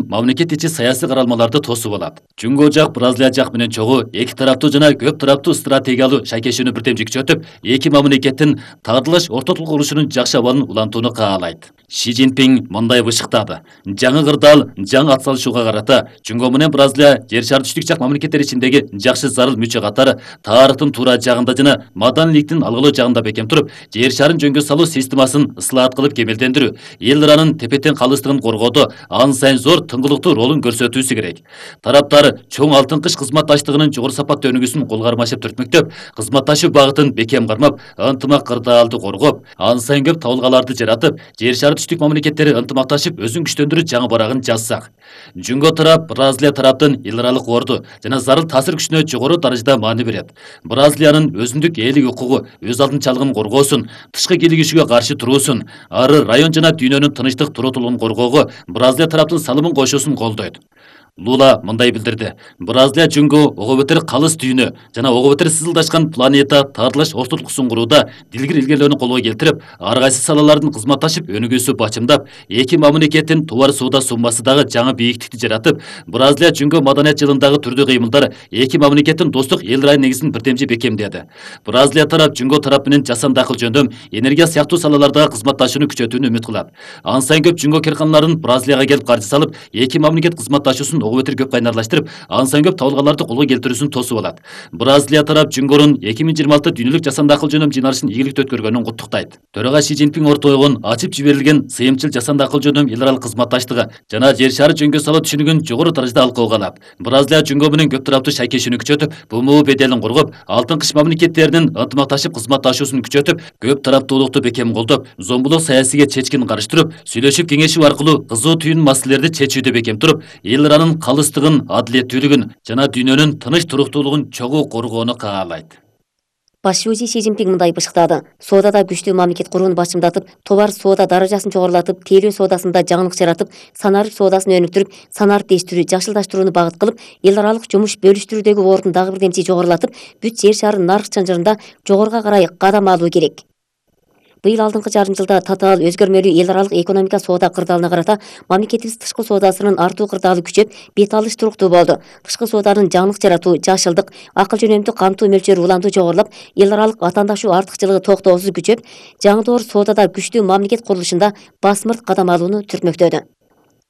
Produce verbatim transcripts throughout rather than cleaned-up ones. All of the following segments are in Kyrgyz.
мамлекет ичи саясий каралмаларды тосуп алат. Жөнгө жак Бразилия жак менен чогуу эки тараптуу жана көп тараптуу стратегиялуу шайкешүүнү бирдем жүктөтүп, эки мамлекеттин тагдырлаш ортотулук урушунун жакшы абалын улантууну каалайт. Ши Цзиньпин мындай бышыктады: жаңы кырдаал, жаңы атсалышууга карата Жөнгө менен Бразилия жер шары түштүк жак мамлекеттер ичиндеги жакшы зарыл мүчө катары тарыхтын туура жагында жана маданиликтин алгылуу жагында бекем туруп, жер шарын жөнгө салуу системасын ыслаат кылып кемелдендирүү, эл ыранын тепе-тең калыстыгын коргоодо ан сайын зор тыңгылыктуу ролун көрсөтүүсү керек. Тараптар чоң алтын кыш кызматташтыгынын жогору сапаттуу өнүгүүсүн кол кармашып түртмөктөп, кызматташуу багытын бекем кармап, ынтымак кырдаалды коргоп, ан сайын көп табылгаларды жаратып, жер шары түштүк мамлекеттери ынтымакташып өзүн күчтөндүрүү жаңы барагын жазсак. Жөнгө тарап Бразилия тараптын эл аралык орду жана зарыл таасир күчүнө жогору даражада маани берет. Бразилиянын өзүндүк элдик укугу, өз алдынчалыгын коргоосун, тышкы кийлигишүүгө каршы туруусун, ары район жана дүйнөнүн тынычтык туруутулугун коргоого Бразилия тараптын салымын кошуусун колдойт. Лула мындай билдирди: Бразилия жөнгө ого бетер калыс дүйнө жана ого бетер сызылдашкан планета тагдырлаш ортотулуксун курууда дилгир илгерлөөнү колго келтирип, ар кайсы салалардын кызматташып өнүгүүсү бачымдап, эки мамлекеттин товар соода суммасы дагы жаңы бийиктикти жаратып, Бразилия жөнгө маданият жылындагы түрдүү кыймылдар эки мамлекеттин достук эл райын негизин бирдемчи бекемдеди. Бразилия тарап жөнгө тарап менен жасанды акыл жөндөм, энергия сыяктуу салалардагы кызматташууну күчөтүүнү үмүт кылат. Ан сайын көп жөнгө карканаларын Бразилияга келип каржы салып, эки мамлекет кызматташуусун ого бетер көп кайнарлаштырып, ан сайын көп табылгаларды колго келтирүүсүн тосуп алат. Бразилия тарап Жөнгөрүн эки миң жыйырма алты дүйнөлүк жасанды акыл жөндөм жыйналышын ийгиликтүү өткөргөнүн куттуктайт. Төрага Ши Цзиньпин ортойгон ачып жиберилген сыйымчыл жасанды акыл жөндөм эл аралык кызматташтыгы жана жер шары жөнгө салуу түшүнүгүн жогору даражада алкоого алат. Бразилия жөнгө менен көп тараптуу шайкешүүнү күчөтүп, БМУ беделин коргоп, алтын кыш мамлекеттеринин ынтымакташып кызматташуусун күчөтүп, көп тараптуулукту бекем колдоп, зомбулук саясийге чечкин карыштырып, сүйлөшүп кеңешүү аркылуу кызуу түйүн маселелерди чечүүдө бекем туруп, эл ыранын калыстыгын, адилеттүүлүгүн жана дүйнөнүн тыныч туруктуулугун чогуу коргоону каалайт. Баш шүүжи Ши Цзиньпин мындай бышыктады: соодада күчтүү мамлекет курууну бачымдатып, товар соода даражасын жогорулатып, тейлөө соодасында жаңылык жаратып, санарып соодасын өнүктүрүп, санариптештирүү, жакшылдаштырууну багыт кылып, эл аралык жумуш бөлүштүрүүдөгү ордун дагы бирдемчи жогорулатып, бүт жер шары нарык чынжырында жогоруга карай кадам алуу керек. Быйыл алдыңкы жарым жылда татаал өзгөрмөлүү эл аралык экономика соода кырдаалына карата мамлекетибиз тышкы соодасынын артуу кырдаалы күчөп, бет алыш туруктуу болду. Тышкы сооданын жаңылык жаратуу, жашылдык, акыл жөнөмдүү камтуу мөлчөрү уламдуу жогорулап, эл аралык ватандашуу артыкчылыгы токтоосуз күчөп, жаңы соодада күчтүү мамлекет курулушунда басмырт кадам алууну түртмөктөдү.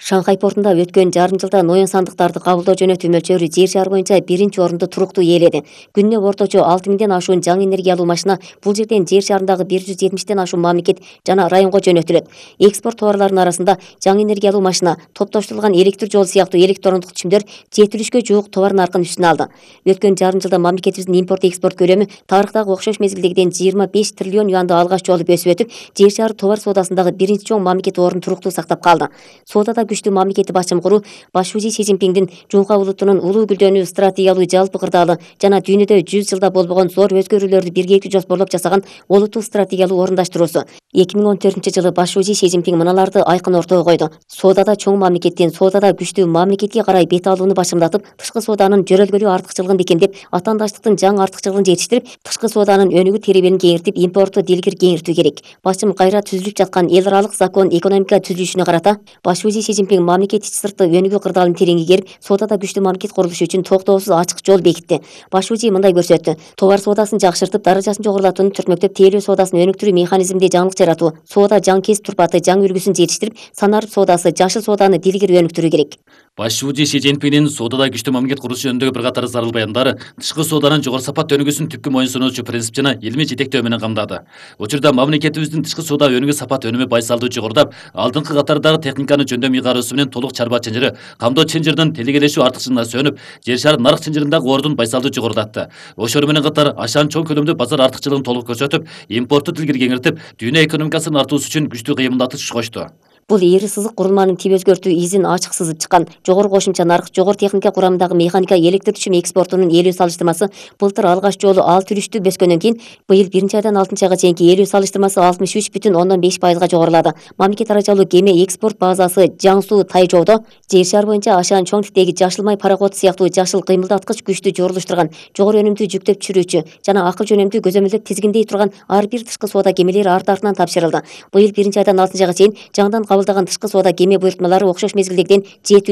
Шанхай портунда өткөн жарым жылда ноян сандыктарды кабылдоо жөнөтүү мөлчөрү жер шары боюнча биринчи орунду туруктуу ээледи. Күнүнө орточо алты миңден ашуун жаңы энергиялуу машина бул жерден жер шарындагы бир жүз жетимиштен ашуун мамлекет жана районго жөнөтүлөт. Экспорт товарларынын арасында жаңы энергиялуу машина, топтоштурулган электр жол сыяктуу электрондук түшүмдөр жетилишкө жуук товар наркын үстүнө алды. Өткөн жарым жылда мамлекетибиздин импорт экспорт көлөмү тарыхтагы окшош мезгилдегиден жыйырма беш триллион юанды алгач жолу өсүп өтүп, жер шары товар соодасындагы биринчи чоң мамлекет ордун туруктуу сактап калды. Соодада күчтүү мамлекети башчым куруу баш шүүжи Ши Цзиньпиндин Жунха улутунун улуу гүлдөнүү стратегиялуу жалпы кырдаалы жана дүйнөдө жүз жылда болбогон зор өзгөрүүлөрдү биргеликти жоспорлоп жасаган олуттуу стратегиялуу орундаштыруусу. эки миң он төртүнчү жылы баш шүүжи Ши Цзиньпин мыналарды айкын ортого койду: соодада чоң мамлекеттин, соодада күчтүү мамлекетке карай бет алууну башымдатып, тышкы сооданын жөрөлгөлүү артыкчылыгын бекемдеп, атаандаштыктын жаңы артыкчылыгын жетиштирип, тышкы сооданын өнүгүү теребелин кеңиртип, импортту дилгир кеңиртүү керек. Башым кайра түзүлүп жаткан эл аралык закон экономика түзүлүшүнө карата баш шүүжи Ши Цзиньпин мамлекет ичи сыртты өнүгүү кырдаалын тереңге керип, соодада күчтүү мамлекет курулушу үчүн токтоосуз ачык жол бекитти. Баш шүүжи мындай көрсөттү: товар соодасын жакшыртып, даражасын жогорулатууну түртмөктөп, тейлөө соодасын өнүктүрүү механизминде жаңылык жаратуу, соода жаңы кесип турпаты, жаңы үлгүсүн жетиштирип, санарып соодасы, жашыл сооданы дилгир өнүктүрүү керек. Баш шүүжи Ши Цзиньпиндин соодада күчтүү мамлекет курулушу жөнүндөгү бир катар зарыл баяндары тышкы сооданын жогору сапаттуу өнүгүүсүн түпкү моюнсунуучу принцип жана илмий жетектөө менен камдады. Учурда мамлекетибиздин тышкы соода өнүгүү сапат өнүмү байсалдуу жогорулап, алдыңкы катардагы техниканы жөндөм ыйгаруусу менен толук чарба чынжыры, камдоо чынжырдын телегелешүү артыкчылыгына сөнүп, жер шары нарык чынжырындагы ордун байсалдуу жогорулатты. Ошону менен катар ашан чоң көлөмдүү базар артыкчылыгын толук көрсөтүп, импортту дилгир кеңиртип, дүйнө экономикасынын артуусу үчүн күчтүү кыймылдатыш кошту. Бул эри сызык курулманын тип өзгөртүү изин ачык сызып чыккан. Жогору кошумча нарк, жогору техника курамындагы механика электр түшүм экспортунун ээлүү салыштырмасы былтыр алгач жолу алты үлүштүү бөскөндөн кийин быйыл биринчи айдан алтынчы айга чейинки ээлүү салыштырмасы алтымыш үч бүтүн ондон беш пайызга жогорулады. Мамлекет арачалуу кеме экспорт базасы Жаңсу Тайжоодо жер шары боюнча ашаан чоң типтеги жашыл май пароходу сыяктуу жашыл кыймылдаткыч күчтү жорулуштурган, жогору өнүмдүү жүктөп түшүрүүчү жана акыл жөнөмдүү көзөмөлдөп тизгиндей турган ар бир тышкы соода кемелери арт артынан тапшырылды. Быйыл биринчи айдан алтынчы айга чейин жаңыдан кабылдаган тышкы соода кеме буйртмалары окшош мезгилдегиден жети үлүш